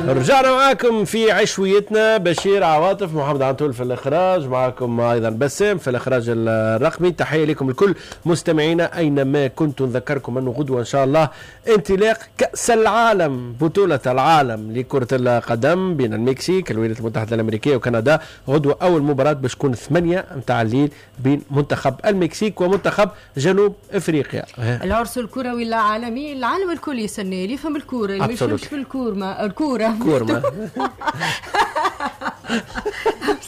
رجعنا معاكم في عشويتنا، بشير عواطف، محمد عنتول في الاخراج، معاكم ايضا بسام في الاخراج الرقمي. تحية لكم الكل مستمعينا اينما كنتم. نذكركم انه غدوه ان شاء الله انطلاق كاس العالم، بطوله العالم لكرة القدم بين المكسيك، الولايات المتحدة الامريكية وكندا. غدوه اول مباراة باش تكون 8 متاع الليل بين منتخب المكسيك ومنتخب جنوب افريقيا. العرس الكروي العالمي، العالم الكل يستنى، اللي يفهم الكورة، اللي ما يفهمش في الكورة الكورة كورما.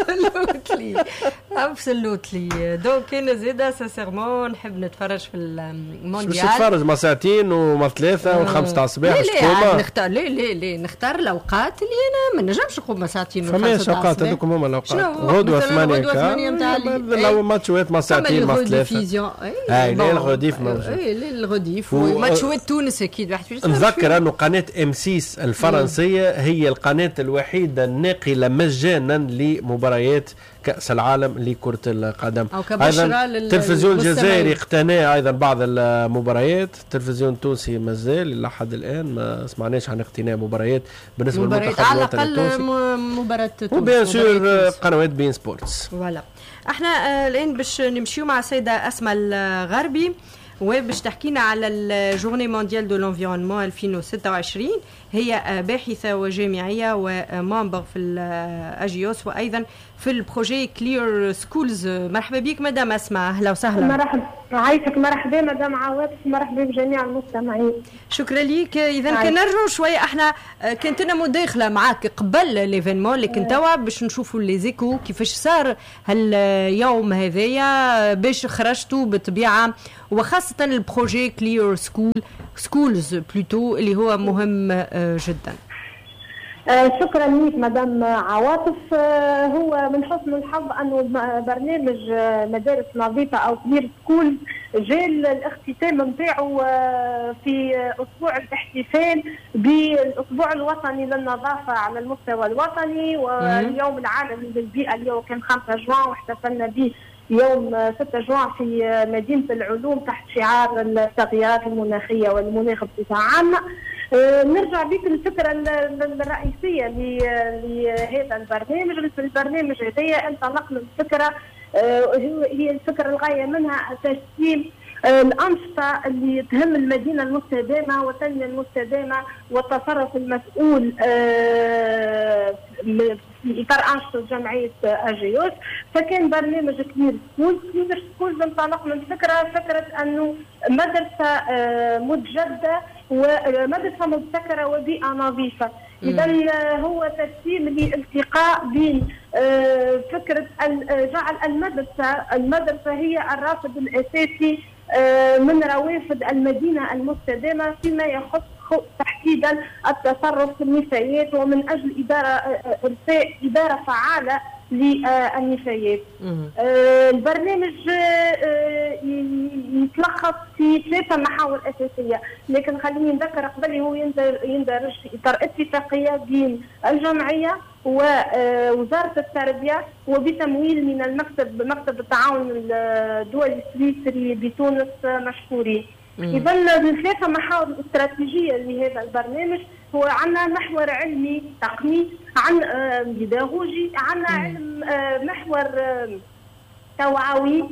absolutely absolutely. donc انا زيدا sincèrement نحب نتفرج في المونديال. باش تتفرج ما ساعتين وما ثلاثة والخمسة تاع الصباح؟ لا نختار، لا لا لا، نختار الاوقات اللي انا ما نجمش نقوم ساعتين. فماش اوقات، هذوك هما الاوقات. غدوه 8 نتاع الليل ماتشوات ما ساعتين ما ثلاثة. اي لا ال rediff موجود، اي لا ال rediff وماتشوات تونس اكيد واحد. نذكر انه قناة M6 الفرنسية هي القناة الوحيدة الناقله مجانا لمباريات كأس العالم لكرة القدم. أيضا التلفزيون الجزائري اقتنى أيضا بعض المباريات، التلفزيون التونسي مازال لحد الآن ما سمعناش عن اقتناء مباريات بالنسبة للمنتخب الوطني التونسي، مباراة تونس و bien sûr قنوات beIN Sports. voilà، احنا الآن باش نمشيو مع السيدة أسماء الغربي وباش تحكينا على ال journée mondiale de l'environnement 2026. هي باحثة وجامعية و membre في ال AJOS وأيضا في ال projet Clear Schools. مرحبا بك مدام أسماء، أهلا وسهلا. مرحبا، عايشك. مرحبا مدام عواطف، مرحبا بجميع المستمعين. شكرا لك. إذا كان نرجعوا شوية، احنا كانت لنا مداخلة معاك قبل l'événement، لكن توا باش نشوفوا les échos كيفاش صار هاليوم هذايا، باش خرجتوا بالطبيعة، وخاصة ال projet Clear School Schools plutôt اللي هو مهم جدا. شكرا لك مدام عواطف. هو من حسن الحظ انه برنامج مدارس نظيفة او Clear School جاء الاختتام نتاعو في اسبوع الاحتفال بالاسبوع الوطني للنظافه على المستوى الوطني واليوم العالمي للبيئة اللي هو كان 5 جوان، واحتفلنا به يوم 6 جوان في مدينة العلوم تحت شعار التغييرات المناخية والمناخ بصفة عامة. نرجع بك للفكرة الرئيسية لهذا البرنامج. في البرنامج هذايا انطلقنا من فكرة، هي الفكرة الغاية منها تجسيم الأنشطة اللي تهم المدينة المستدامة والتنمية المستدامة والتصرف المسؤول في إطار أنشطة جمعية AJOS. فكان برنامج Clear Schools. Clear Schools انطلق من فكرة أنه مدرسة متجددة ومدرسة مبتكرة وبيئة نظيفة. إذا هو تجسيم لالتقاء بين فكرة جعل المدرسة هي الرافد الأساسي من روافد المدينة المستدامة فيما يخص تحديدا التصرف في النفايات، ومن أجل إدارة فعالة للنفايات. البرنامج يتلخص في 3 محاور أساسية، لكن خليني نذكر قبل هو يندرج في إطار اتفاقية بين الجمعية ووزارة التربية وبتمويل من المكتب، مكتب التعاون الدولي السويسري بتونس مشكورين. إذا الثلاثة محاور الاستراتيجية لهذا البرنامج هو عندنا محور علمي تقني، عن بيداغوجي، عندنا علم محور توعوي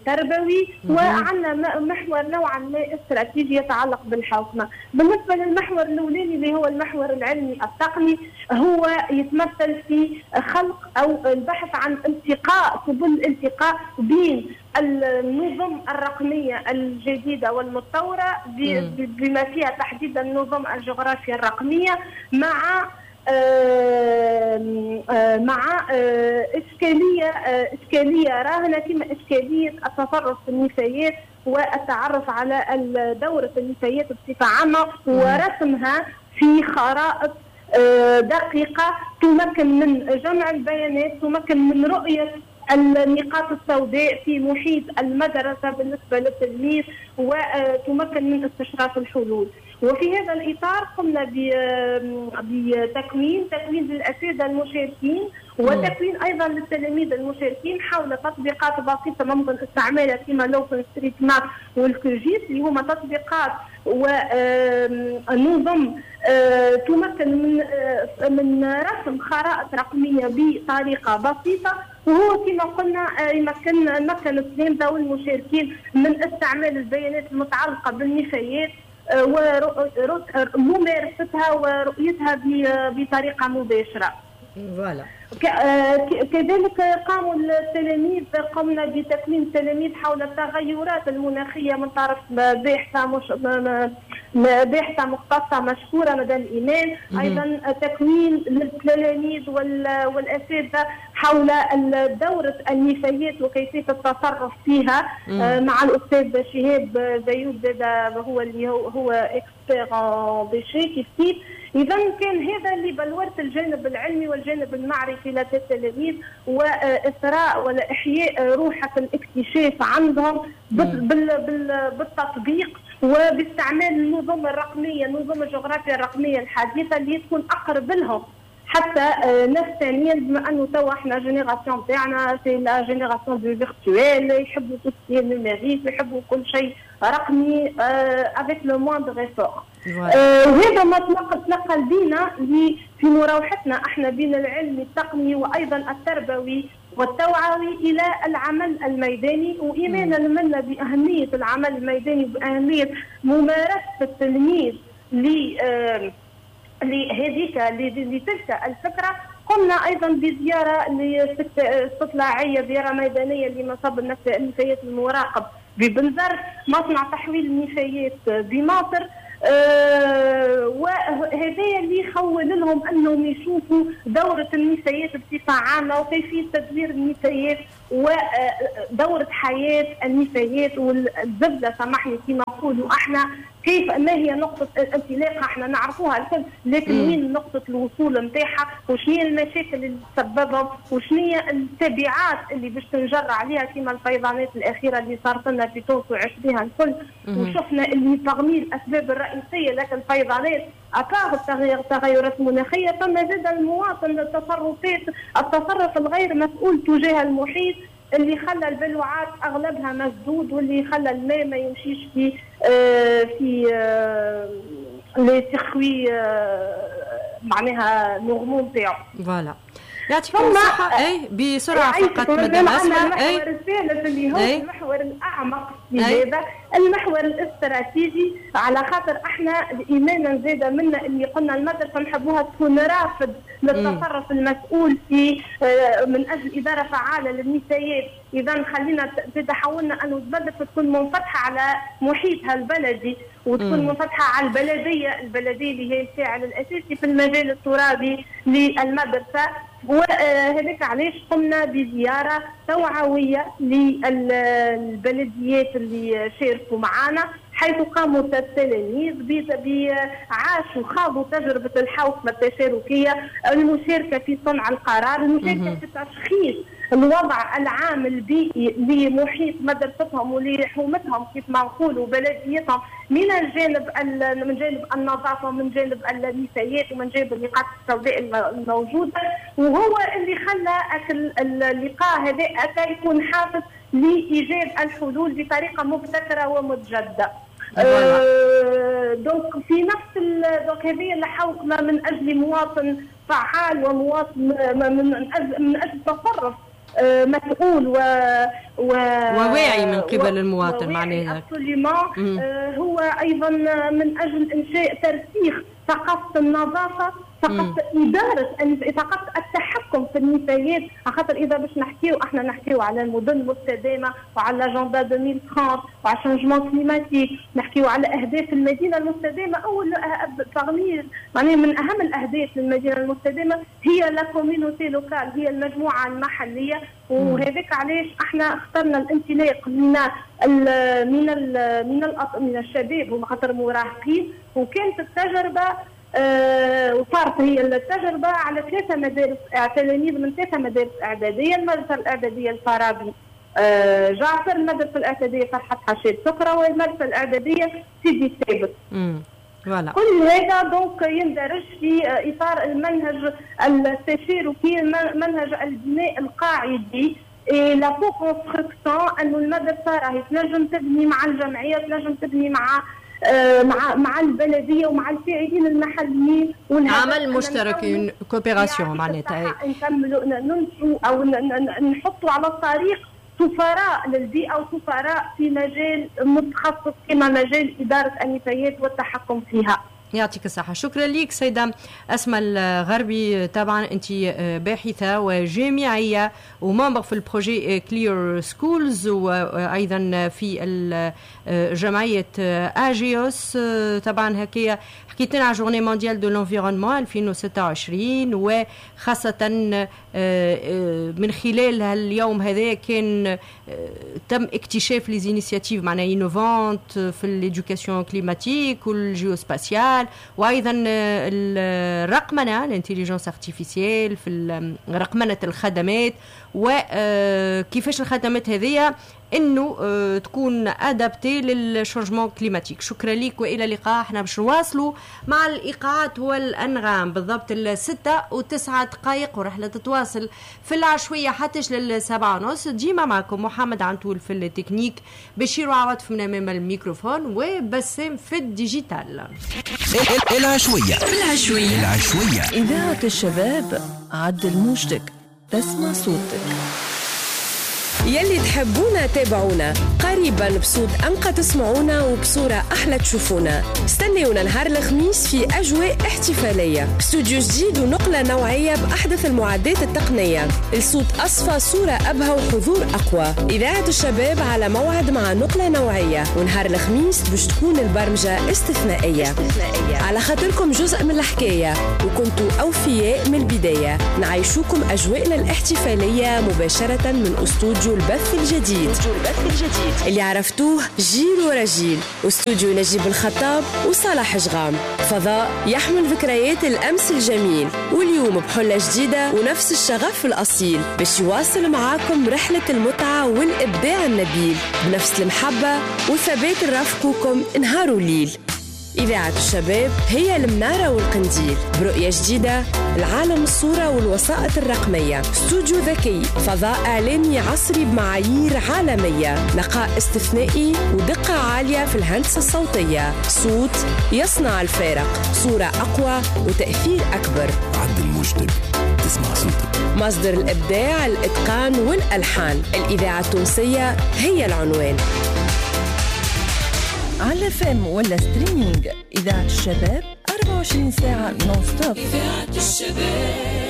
تربوي، وعندنا محور نوعا ما استراتيجي يتعلق بالحوكمه. بالنسبة للمحور الاولاني اللي هو المحور العلمي التقني، هو يتمثل في خلق او البحث عن التقاء سبل الالتقاء بين النظم الرقمية الجديدة والمتطوره بما فيها تحديدا النظم الجغرافية الرقمية مع إشكالية راهنة كما إشكالية التصرف في النفايات والتعرف على دورة النفايات بصفة عامة ورسمها في خرائط دقيقة تمكن من جمع البيانات، تمكن من رؤية النقاط السوداء في محيط المدرسة بالنسبة للتلميذ، وتمكن من استشراف الحلول. وفي هذا الإطار قمنا بتكوين للأساتذة المشاركين وتكوين أيضا للتلاميذ المشاركين حول تطبيقات بسيطة ممكن استعمالها كما l'OpenStreetMap وال QGIS، اللي هما تطبيقات ونظم تمكن من رسم خرائط رقمية بطريقة بسيطة. وهو كما قلنا مكن التلامذه والمشاركين من استعمال البيانات المتعلقة بالنفايات وممارستها ورؤيتها بطريقة مباشرة. voilà. كذلك قاموا التلاميذ، قمنا بتكوين التلاميذ حول التغيرات المناخية من طرف باحثه مختصة مشهورة مدام ايمان. ايضا تكوين للتلاميذ والاساتذه حول دوره النفايات وكيفية التصرف فيها مع الاستاذ شهاب زيود، هو اللي هو expert en déchets كيف كيف. اذا كان هذا اللي بلورت الجانب العلمي والجانب المعرفي لدى التلاميذ، واثراء ولا احياء روحة الاكتشاف عندهم بالتطبيق وباستعمال النظم الرقمية، النظم الجغرافية الرقمية الحديثة اللي تكون اقرب لهم حتى نفسانيا، بما انه توا احنا génération تاعنا c'est la génération du virtuel، يحبوا tout ce qui est numérique، يحبوا كل شيء رقمي avec le moindre effort. وهذا ما تنقل بينا في مراوحتنا احنا بين العلم التقني وايضا التربوي والتوعوي الى العمل الميداني، وايمانا منا باهمية العمل الميداني وباهميه ممارسة التلميذ لهذيك لتلك الفكرة. قمنا ايضا بزيارة استطلاعيه، زيارة ميدانية لمصب النفايات المراقب ببنزرت، مصنع تحويل النفايات بماطر. وهذا اللي يخول لهم انهم يشوفوا دوره النفايات بصفة عامة وكيفية تدوير النفايات ودوره حياة النفايات والزبده، سامحني كما نقولوا احنا، كيف ما هي نقطة الانطلاق احنا نعرفوها الكل، لكن وين نقطة الوصول نتاعها، وشنو هي المشاكل اللي تسببها، وشنو هي التبعات اللي باش تنجر عليها كما الفيضانات الأخيرة اللي صارت لنا في تونس وعشناها الكل، وشفنا اللي parmi الأسباب الرئيسية لكن الفيضانات à part التغيرات المناخية، فما زاد المواطن التصرفات، التصرف الغير مسؤول تجاه المحيط اللي خلى البلوعات اغلبها مسدود، واللي خلى الماء ما يمشيش في les circuits معناها normaux نتاعو. voilà، يعطيكم الصحة. اي بسرعة فقط مدام أسماء. المحور الثالث اللي هو المحور الأعمق في هذا المحور الاستراتيجي، على خاطر احنا ايمانا زاد منا اللي قلنا المدرسة نحبوها تكون رافد للتصرف المسؤول في من اجل ادارة فعاله للنفايات. اذا خلينا تحولنا انه المدرسة تكون منفتحة على محيطها البلدي، وتكون منفتحة على البلدية، البلدية اللي هي الفاعل الاساسي في المجال الترابي للمدرسة. وهذاك علاش قمنا بزيارة توعوية للبلديات اللي شاركوا معنا، حيث قاموا التلاميذ عاشوا خاضوا تجربة الحوكمة التشاركية، المشاركة في صنع القرار، المشاركة في تشخيص الوضع العام البيئي لمحيط مدرستهم ولحومتهم كيف ما نقولوا بلديتهم، من الجانب من جانب النظافة ومن جانب النفايات ومن جانب النقاط السوداء الموجودة. وهو اللي خلى اللقاء هذا يكون حافز لايجاد الحلول بطريقة مبتكره ومتجدده. donc في نفس donc هذه الحوكمة من اجل مواطن فعال ومواطن من اجل تصرف مسؤول وواعي من قبل المواطن معناها. هو ايضا من اجل انشاء ترسيخ ثقافة النظافة، ثقافة ادارة، ثقافة التحكم في النفايات، خاطر اذا باش نحكيو احنا نحكيو على المدن المستدامة وعلى l'agenda 2030 وعلى changement climatique، نحكيو على اهداف المدينة المستدامة. اول parmi معناها من اهم الاهداف للمدينة المستدامة هي la communauté locale، هي المجموعة المحلية. وهذاك علاش احنا اخترنا الانطلاق من ال من ال من ال من الشباب، هما خاطر مراهقين، وكانت التجربة وصارت هي التجربة على 3 مدارس، تلاميذ من 3 مدارس اعدادية، المدرسة الاعدادية الفارابي جعفر، المدرسة الاعدادية فرحات حشاد سكره، والمدرسة الاعدادية سيدي ثابت. كل هذا donc يندرج في اطار المنهج التشاركي، منهج البناء القاعدي la co-construction، انه المدرسة راهي تنجم تبني مع الجمعية، تنجم تبني مع مع البلدية ومع الفاعلين المحليين. عمل مشترك، coopération معناتها. نكملوا ننشئوا او نحطوا على الطريق سفراء للبيئة وسفراء في مجال متخصص كما مجال ادارة النفايات والتحكم فيها. يعطيك الصحة، شكرا لك سيدة أسماء الغربي. طبعا أنت باحثة وجامعية و membre في ال projet Clear Schools وأيضا في جمعية أجيوس. طبعا هكايا حكيت لنا على journée mondiale de l'environnement 2026، وخاصة من خلال اليوم هذا كان تم اكتشاف les initiatives معناها innovantes في l'éducation climatique وال géospatiale، وايضا الرقمنه، l'intelligence artificielle في رقمنه الخدمات، وكيفاش الخدمات هذه انه تكون adaptée لل changement climatique. شكرا لك والى اللقاء. احنا باش نواصلوا مع الايقاعات والانغام بالضبط 6:09، ورحله تتواصل في العشويه حتى 7:30. ديما معكم محمد عنتول في التكنيك، بشير وعواطف من امام الميكروفون، وبسام في ال digital. العشوية. العشوية. العشوية. إذاعة الشباب، عدل موجتك تسمع صوتك. يلي تحبونا تابعونا، قريبا بصوت أنقى تسمعونا وبصورة أحلى تشوفونا. استنونا نهار الخميس في أجواء احتفالية، استوديو جديد ونقلة نوعية بأحدث المعدات التقنية، الصوت أصفى، صورة أبهى وحضور أقوى. إذاعة الشباب على موعد مع نقلة نوعية، ونهار الخميس باش تكون البرمجة استثنائية على خاطركم جزء من الحكاية وكنتوا أوفياء من البداية. نعيشوكم أجواءنا الاحتفالية مباشرة من استوديو البث الجديد اللي عرفتوه جيل ورا جيل، واستوديو نجيب الخطاب وصالح جغام، فضاء يحمل ذكريات الأمس الجميل واليوم بحلة جديدة ونفس الشغف الأصيل، باش يواصل معاكم رحلة المتعة والإبداع النبيل بنفس المحبة وثبات رافقوكم نهار وليل. إذاعة الشباب هي المنارة والقنديل برؤية جديدة العالم الصورة والوسائط الرقمية، استوديو ذكي، فضاء إعلامي عصري بمعايير عالمية، نقاء استثنائي ودقة عالية في الهندسة الصوتية، صوت يصنع الفارق، صورة أقوى وتأثير أكبر. عدل موجتك تسمع صوتك. مصدر الإبداع، الإتقان والألحان، الإذاعة التونسية هي العنوان. على FM ولا streaming، إذاعة الشباب 24 ساعة non-stop. إذاعة الشباب.